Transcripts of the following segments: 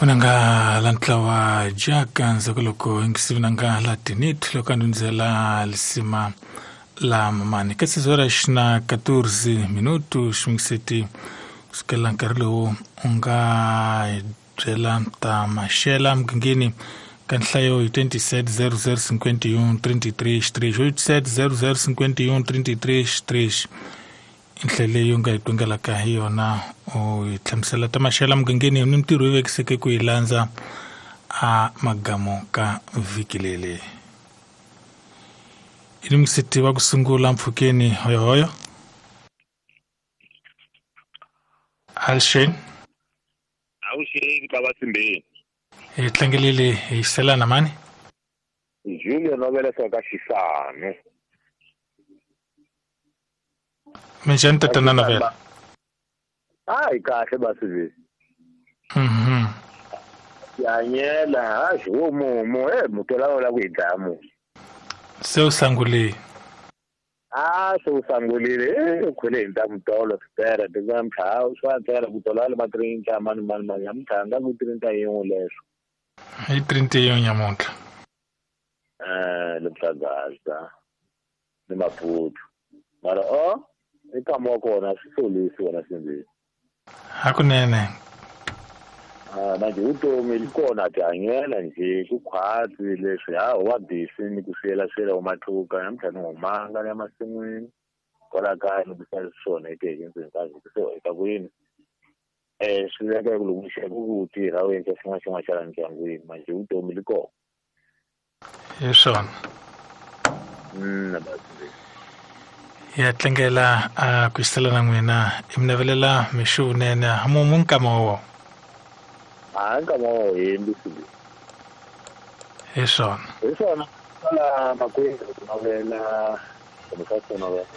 Vunanga la ntlawa jaka ndzhaku loko yingisi vunanga la tinit loko a ndundzela lisima la mamani ka sizora xina 14 minutu xingiseti kusukela nkarhi lowu u nga hi byela ta maxela mugangeni ka nhlayo hi 27 00 51 33 3 87 00 51 33 3 i ndlela leyi u nga yi twingelaka hi yona u yi hlamusela ta maxela mugangeni ni mintirho yi vekiseke ku yi landza a magamu ka vhiki leri i ni musiti wa ku sungula mpfhukeni hoyohoyo alshane awuxeni ka vasimbeni hi tlangelile hi selana mani Julio Novela ka Xisane minjhani tatana Novela hayi kahle basiveni Tihanyela hayi wo mumu e mutola wo la ku hi dlaya munhu se u sangulile a se u sangulile e u khwele hi ntamu tolo swipera namuntlha ha swa ntsena ku tola le ma trinta mani mani mani namuntlha nga ku trinta yin'we leswo hi trinta yin'we nyamuntlha le Mhlagaza ni Maputo mara o i nkama wa kona swi solisi wona sindzeni hakunene manje vutomi li kona tihanyela nje ku khwatsi leswi ha ho va busy ni ku swiyela swiyela vo matluka namuntlha ni humanga ni ya masin'wini kwala kaya ni bisa swona ekeke ndzeni ka vhiki se heta ku yini swi veka ku loko u ku tirha u endla xin'wana xin'wana xa la ndyangwini manje vutomi li kona hi swona ya tlangela a ku xisela na n'wina i mi navelela mixo vunene mumu nkama wo a nkama wo hembi swi hi swona hi swona la makwenu ku navela kumbe ka ku navela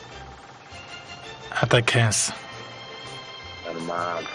a ta khensa ani mali.